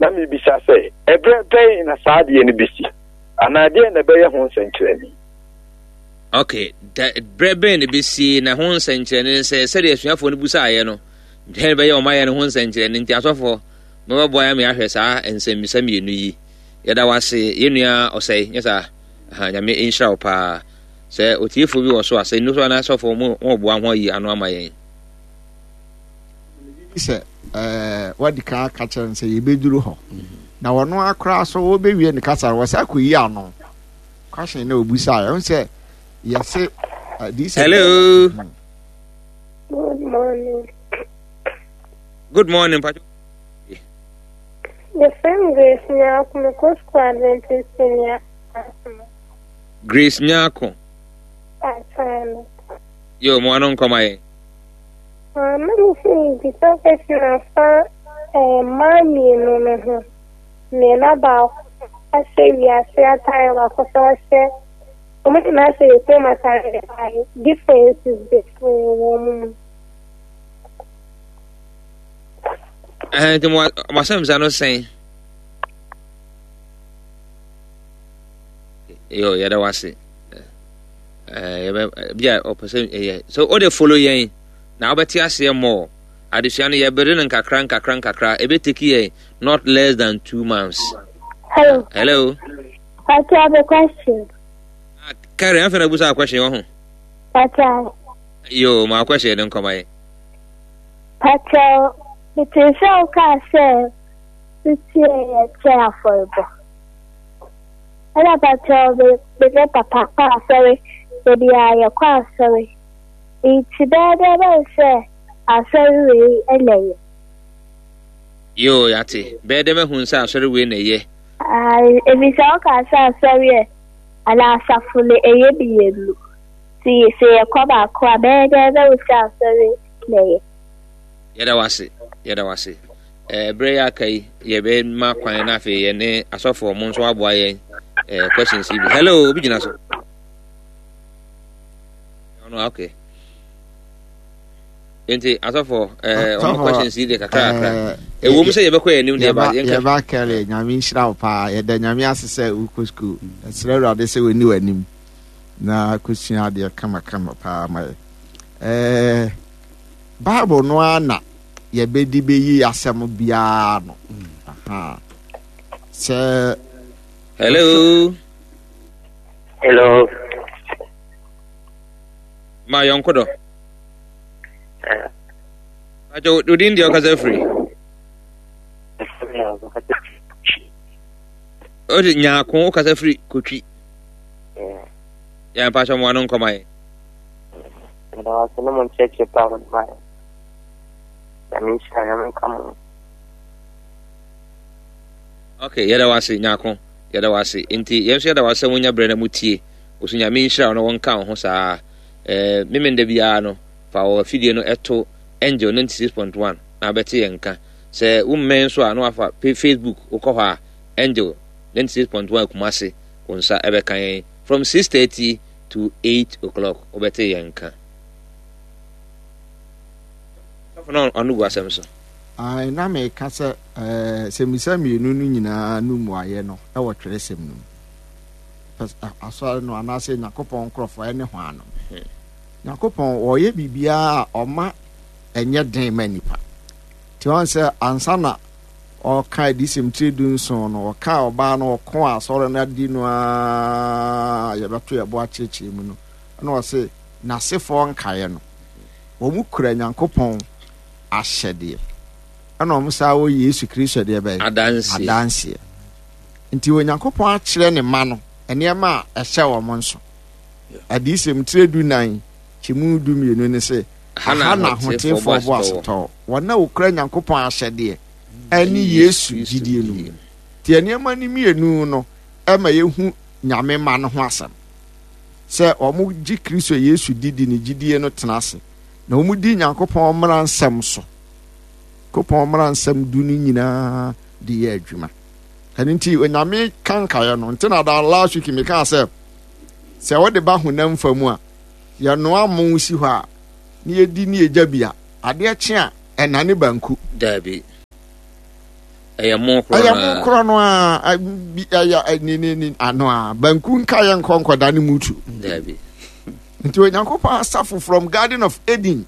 Na mebisa sɛ, ɛberɛ bɛn na saa adeɛ no bɛsi? Anaa deɛn na ɛbɛyɛ ho nsɛnkyerɛnne? Ok, da, berɛ bɛn na ɛbɛsie na ho nsɛnkyerɛnne ne sɛ sɛdeɛ asuafoɔ no busaeɛ no, dɛn bɛyɛ ɔma yɛ no ho nsɛnkyerɛnne nti asɔfoɔ mobɛboa yɛn ama yɛahwɛ saa nsɛmmisa mmienu yi. Yɛda wo ase yɛn nua ɔsɛe, nyɛ saa? Aha, Nyame nhyira wo paa. Sɛ otiefoɔ bi wɔ so a, sɛ nnu so anaa asɔfoɔ mo mo boa ho ayi ano ama yɛn. Sɛ ɛɛ wadi kan aka kyerɛ no sɛ yɛbɛduru hɔ na wɔn akora so wɔbɛwie ne kasa no wɔsɛ akɔyi ano question na obusa ɛho sɛ yɛse adiyisɛm. Hello. Good morning. Good morning, Pacho. Your friend Grace Nyako, mekɔ school Adventist Senior. Grace Nyako. Atane. Yo, mo ano nkɔma yɛn. Ah, na me sɛ bisa question afa eh, mmaa mmienu no ho. Nea na baako ahyɛ wiase atare baako nso ahyɛ wɔn nyinaa hyɛ the same atare but differences bebree wɔ wɔn mu. Ɛhɛn nti mo asɛmsa no sɛn? Yo, yɛda wase. Yɛbɛ bi a ɔpɛ sɛ ɛyɛ so o de follow yɛn na wobɛte aseɛ more. Adesua no yɛbere no nkakra nkakra nkakra. Ɛbɛteki yɛn not less than 2 months. Hello. Hello. I have a question. Ah, Karen, afei na busa question wɔ ho. Pacho. Yo, ma question no nkɔma yɛ. Pacho, mete sɛ wokaa sɛ wotie yɛ kyɛ afɔrebɔ. Ɛna pacho, me ne papa kɔ asɔre, da biara yɛkɔ asɔre. Nti bɛyɛ dɛ bɛn sɛ asɔre wei na ɛyɛ. Yoo, yɛate. Bɛyɛ dɛ mahu sɛ asɔre wei na ɛyɛ. Efisɛ wokaa sɛ asɔre ɛ, anaa asafo no ɛyɛ mmienu. Nti sɛ yɛkɔ baako a, bɛyɛ dɛ bɛhu sɛ asɔre na ɛyɛ. Yɛda wo ase, yɛda wo ase. Eh, berɛ yɛ aka yi, yɛbɛma kwan na afei yɛne asɔfoɔ mo nso aboa yɛn eh, questions yi bi. Hello, obi gyina so. Ɔno, okay. Nti asɔfoɔ, eh, ɔmo questions yi deɛ kakra kakra. Ɛwɔ mu sɛ yɛbɛkɔ yɛn anim deɛ ba yɛnka. Yɛba kɛre, Nyame nhyira wo paa. Yɛda Nyame ase sɛ wokɔ sukuu. Ɛsrɛ Awurade sɛ wɔni w'anim na kɔsua adeɛ kamakama paa ma yɛ. Eh, Bible no ara na yɛbɛdi bɛyi asɛm biara no. Aha. Sɛ. Hello. Hello. Ma yɔnko dɔ. Pacho, wo din deɛ ɔkasa firi? Ɔde nyaako wokasa firi kotwi. Yɛn mpacho mo ano nkɔma yɛn. Meda wo ase ne mo nkyerɛkyerɛ pa a mode ma yɛn. Nyame nhyira, Nyame nka mo. Okay, yɛda wo ase nyaako. Yɛda wo ase. Nti yɛn nso yɛda wo ase sɛ wonya berɛ na motie. Wo so Nyame nhyira wo na wɔnka wo ho saa. Eh, memenda biara no, fa wɔ afidie no ɛto Angel 96.1 na abɛte yɛn nka. Sɛ wommɛn nso a na wafa Facebook wokɔ hɔ a Angel 96.1 Kumasi wo nsa ɛbɛka yɛn from 6:30 to 8 o'clock wobɛte yɛn nka. Sɔfo no ɔno gu asɛm so. Ae, na meka sɛ ɛɛ sɛmmisa mmienu no nyinaa no mmuaeɛ no wɔ twerɛsɛm no mu. Asɔre no anaasɛ Nyankopɔn nkorɔfoɔ ɛne hwan no. Nyankopɔn ɔyɛ biribiara a ɔma ɛnyɛ den ma nipa. Nti wɔn sɛ ansa na ɔka adiyisɛm tire 17 no, ɔka ɔbaa no ɔko a asɔre no adi no a yɛbɛto yɛbo akyerɛkyerɛ mu no, ɛna ɔse n'asefoɔ nkaeɛ no, wɔn kura Nyankopɔn ahyɛdeɛ, ɛna wɔn saa wɔ Yesu Kristo deɛ bɛyɛ adanseɛ. Adanseɛ. Nti Onyankopɔn akyerɛ ne mma no nneɛma a ɛhyɛ wɔn nso. Adiyisɛm tire 14 kyɛmu 12 ne se, aha na ahoteefoɔ bɔ asetɔɔ, wɔn a wɔkura Nyankopɔn ahyɛdeɛ ɛne Yesu gyidie no mu. Nti nneɛma no mmienu no ɛma yɛhu Nyame mma no ho asɛm. Sɛ wɔn gye Kristo Yesu di di ne gyidie no tena ase, na wɔn di Nyankopɔn mmara nsɛm so. Nyankopɔn mmara nsɛm du no nyinaa de yɛ adwuma. Ɛno nti Onyame ka nkaeɛ no, nti na da last week mekaa sɛ, sɛ wode ba honam fa mu a, yɛnoa mo si hɔ a, na yɛdi ne yɛgya bi a, adeɛ kye a, ɛnane banku. Daabi. Ɛyɛ mo korɔ no Ɛyɛ mo korɔ no a bi ɛyɛ ne ne ne ano a banku nka yɛ nkɔ nkɔda ne mutu. Dabi. Nti Onyankopɔn asafo from Garden of Eden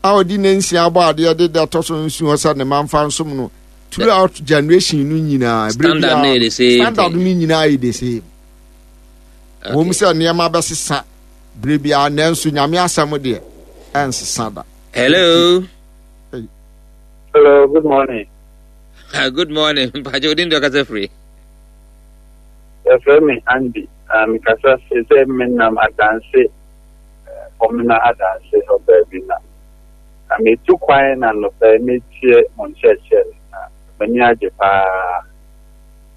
a ɔde ne nsia abɔ adeɛ de da ɛtɔ so nsuo sɛ ne ma nfa nsom no throughout generation no nyinaa. Standard no yɛ the same. Standard no nyinaa yɛ the same. Wɔn sɛ nneɛma bɛsesa bere biara nanso Nyame asɛm deɛ ɛnsesa da. Hello. Hello, good morning. Uh, good morning. Mpacho odin de ɔkasa firi. Yɛfrɛ me Andy. Uh, mekasa firi sɛ menam adanse fɔmena eh, adanse hɔ baabi na na metu kwan na nnɔpɛ metie mo nkyerɛkyerɛ na m'ani agye paa.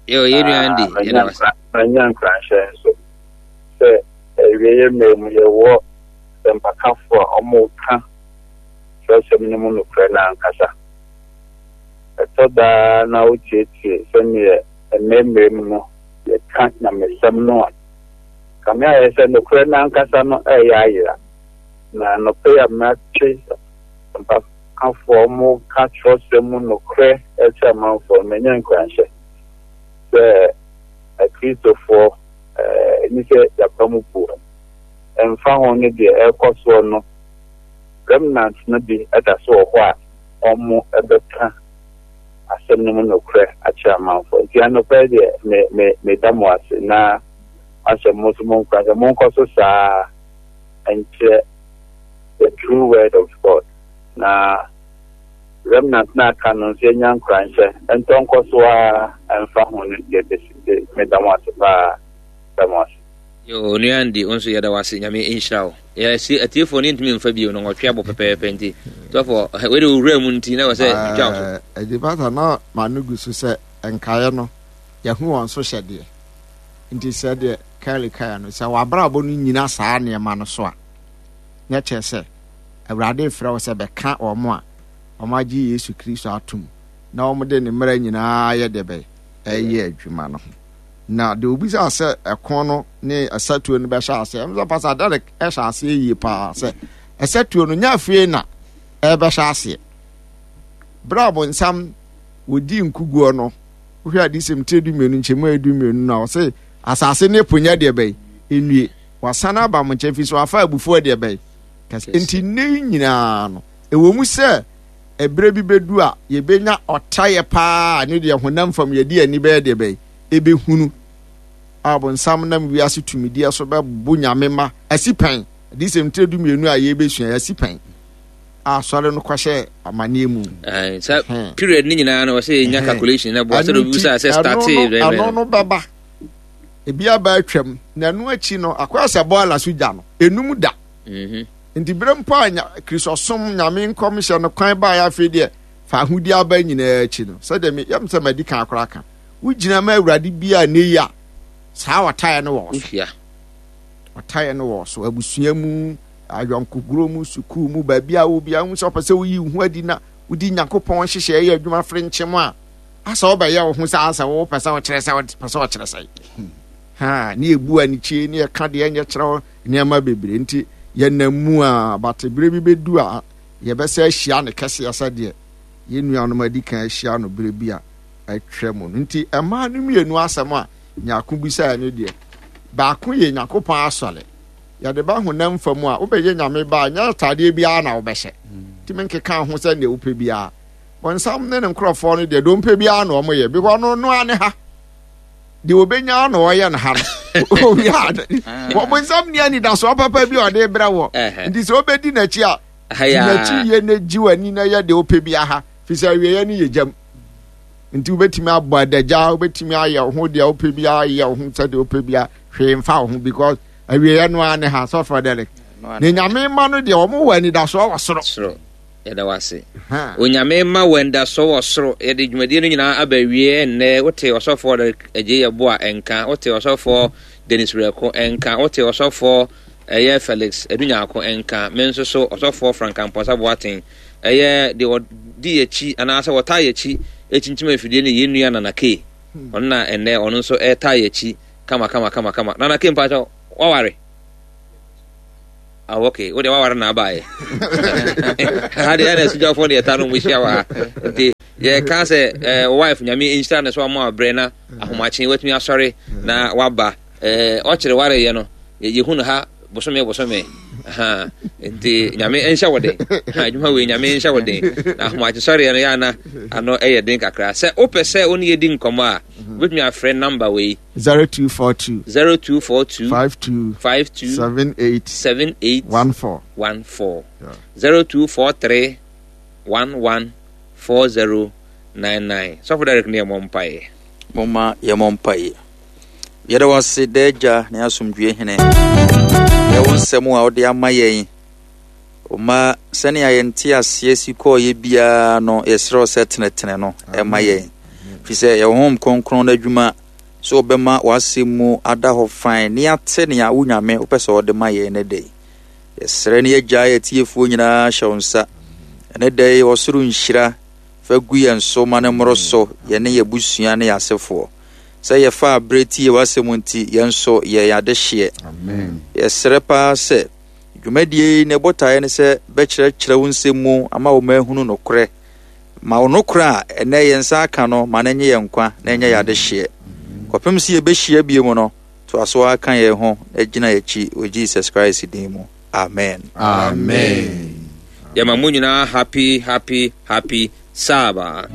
Yo, yɛn nua Andy, yɛda wase. Manya nkuranhyɛ nso sɛ awieeɛ mmerɛ mu yɛwɔ sɛmpakafoɔ a wɔka kyerɛwsɛm no mu nokorɛ no ankasa. Ɛtɔ da ara na wotietie sɛdeɛ ɛnnɛ mmerɛ mu no yɛka nyamesɛm no a, kame ayɛ sɛ nokorɛ no ankasa no reyɛ ayera. Na anɔpa yi a mate mpakafoɔ a wɔka kyerɛwsɛm mu nokorɛ kyerɛ amanfoɔ no, manya nkuranhyɛ sɛ Akristofoɔ ɛni sɛ yɛaba mu buo. Ɛmfa ho ne deɛ ɛrekɔ soɔ no, remnant no bi da so wɔ hɔ a wɔbɛka asɛm no mu nokorɛ akyerɛ amanfoɔ. Nti anɔpa yi deɛ me me meda mo ase na mahyɛ mo nso mo nkuran sɛ monkɔ so saa nkyerɛ the true word of God na remnant no aka no nso yɛnya nkuranhyɛ ntɔ nkɔ so ara ɛmfa ho no deɛ bɛsi nti meda mo ase paa da mo ase. Yo, onua Andy, wo nso yɛda wo ase. Nyame nhyira wo. Yɛsi atiefoɔ no yɛntumi mfa bio no nwɔtwe abɔ pɛpɛɛpɛ nti. Sɔfo, wei de owura mu nti na wɔ sɛ twitwa wo so. Ɛdi pasa na ma no gu so sɛ nkaeɛ no yɛho wɔn so hyɛdeɛ. Nti sɛ deɛ Kelly kaeɛ no sɛ w'abrabɔ no nyina saa nneɛma no so a na kyerɛ sɛ Awurade frɛ wo sɛ bɛka wɔn a wɔagye Yesu Kristo atom na wɔde ne mmara nyinaa yɛ deɛ bɛyɛ ɛyɛ adwuma no ho. Na deɛ obisaa sɛ ɛko no ne ɛsatuo no bɛhyɛ aseɛ, ɛm sɛ Pastor Derek ɛhyɛ aseɛ yie paa sɛ ɛsatuo no nyɛ afei na ɛbɛhyɛ aseɛ. Berɛ a bonsam wɔdi nkuguo no, wohwɛ adesɛm tire 12 nkyɛmu a 12 no a ɔse asase ne po nyɛ deɛ bɛyi nnue, wasan aba mo nkyɛn fi so wafa abufuo deɛ bɛyi kɛse. Nti nnɛ yi nyinaa no, ɛwɔ mu sɛ ɛberɛ bi bɛdu a yɛbɛnya ɔtaeɛ paa ne deɛ honam fam yɛde ani bɛyɛ deɛ bɛyi ebehunu a ɔbonsam nam wiase tumideɛ so bɛbo Nyame mma asi pɛn, Adiyisɛm tire 12 a yɛrebɛsua yi, asi pɛn a asɔre no kɔhyɛ amaneɛ mu. Sɛ period ne nyinaa no ɔsɛ yɛnya calculation na boa sɛ obi bisa sɛ startee ɛno no bɛba ebi aba atwam na ɛno akyi no akɔyɛ sɛ bɔɔla so gya no enum da mhm. nti berɛ mpo a kristosom nyame nkɔmhyɛ no kwan baeɛ afei deɛ fa ahodie aba nyinaa akyi no sɛdeɛ yɛm sɛ madi kan koraa ka Wogyina ma Awurade bi a nnɛ yi a, saa ɔtaeɛ no wɔ wo so. Ɔtaeɛ no wɔ wo so. Abusua mu, ayɔnkogorɔ mu, sukuu mu, baabi a wɔ biara, wohu sɛ ɔpɛ sɛ woyi wo ho adi na wodi Nyankopɔn nhyehyɛeɛ yɛ adwuma fere nkyem a, asɛ wobɛyɛ wo ho sɛ asɛ wopɛ sɛ wokyerɛ sɛ wopɛ sɛ ɔkyerɛ sɛ. Ha, ne yɛbu anikyie, ne yɛka deɛ ɛnyɛ kyerɛ wo nneɛma bebree nti yɛnam mu a, bate berɛ bi bɛdu a yɛbɛsɛ ahyia ne kɛseɛ sɛdeɛ yɛn nuanom adi kan ahyia no berɛ bi a atwa mu no. Nti mmaa no mmienu asɛm a Nyarko bisaeɛ no deɛ, baako yɛ Nyankopɔn asɔre. Yɛde ba honam fa mu a, wobɛyɛ Nyame ba a, nyɛ ataadeɛ biara na wobɛhyɛ. Ntumi nkeka ho sɛ deɛ wopɛ biara. Bɔnsam ne ne nkorɔfoɔ no deɛ, deɛ ɔmpɛ biara na wɔyɛ. Because ɔno no ara ne ha. Deɛ ɔbɛnya na ɔyɛ no ha no. Bɔnsam ni anidasoɔ papa bi a ɔde brɛ wɔ. Nti sɛ wobɛdi n'akyi a, di n'akyi yie na gye w'ani na yɛ deɛ wopɛ biara ha. Firi sɛ awieeɛ no yɛ gyam. Nti wobɛtumi abɔ adagya, wobɛtumi ayɛ wo ho deɛ wopɛ biara, yɛ wo ho sɛdeɛ wopɛ biara, hwee mfa wo ho because awieeɛ no ara ne ha sɔfoɔ Derek. Ne nyame ma no deɛ wɔn wɔ anidasoɔ wɔ soro. Soro. Yɛda wo ase. Onyame ma wɔ anidasoɔ wɔ soro. Yɛde dwumadie no nyinaa aba awie ɛnnɛ. Wote ɔsɔfoɔ Derek Agyei Yeboah nka, wote ɔsɔfoɔ Dennis Werɛko nka, wote ɔsɔfoɔ ɛyɛ Felix Adu Nyarko nka, me nso so ɔsɔfoɔ Frank Amponsah Boateng Ɛyɛ deɛ ɔdi yɛn akyi anaasɛ ɔtaa yɛn akyi kyinkyim afidie no yɛn nua Nana Kay. Ɔno na ɛnnɛ ɔno nso ɛretaa yɛn akyi kama kama kama kama. Nana Kay mpakyɛ waware? Ah, okay. Wo deɛ waware na abaeɛ. Ha deɛ ɛna asugyafoɔ deɛ ɛta no mu hyia wɔ ha. Nti yɛka sɛ eh, wife nyame nhyira ne so ama abrɛ na ahomakye watumi asɔre na waba. Eh, ɔkyerɛ wareyɛ no yɛhu no ha bosome bosome. Ha nti nyame nhyɛ wo den. Ha adwuma wei nyame nhyɛ wo den. Na ahomakye sɔreɛ no yɛ ana ano ɛyɛ den kakra. Sɛ wopɛ sɛ wo ne yɛdi nkɔmmɔ a, wobɛtumi afrɛ number wei. 0242. 0242. 52. 52. 78. 78. 14. 14. Yeah. 0243 11 4099. Sɔfo Derek ne yɛmmɔ mpaeɛ. Momma yɛmmɔ mpaeɛ. Yɛda wo ase daa agya ne asomdwoeɛ hene. Yɛ wo nsɛm a wode ama yɛn. Ɔma sɛnea yɛn nteaseɛ si kɔɔeɛ biara no yɛsrɛ wo sɛ tenetene no ɛma yɛn. Firi sɛ yɛwɔ Honhom Kronkron no adwuma sɛ wɔbɛma w'asɛm mu ada hɔ fann na yɛate nea wo Nyame wopɛ sɛ wɔde ma yɛn ne da yi. Yɛsrɛ ne yɛgyae atiefoɔ nyinaa hyɛ wo nsa. Ɛne da yi ɔsoro nhyira fa gu yɛn so ma no mmoro so yɛne yɛn abusua ne yɛn asefoɔ. Sɛ yɛfaa berɛ tie w'asɛm nti yɛn nso yɛ yɛn adehyeɛ. Yɛsrɛ paa sɛ dwumadie yi ne botaeɛ ne sɛ bɛkyerɛkyerɛ wo nsɛm mu ama wɔn ahunu nokorɛ. Ma wo nokorɛ a ɛnnɛ yɛn nsa aka no ma no nye yɛn nkwa na ɛnyɛ yɛn adehyeɛ. Kɔpem sɛ yɛbɛhyia bio mu no, toa so ara ka yɛn ho na gyina yɛn akyi wɔ Jesus Christ din mu. Amen. Amen. Yɛma mo nyinaa happy happy happy Sabbath.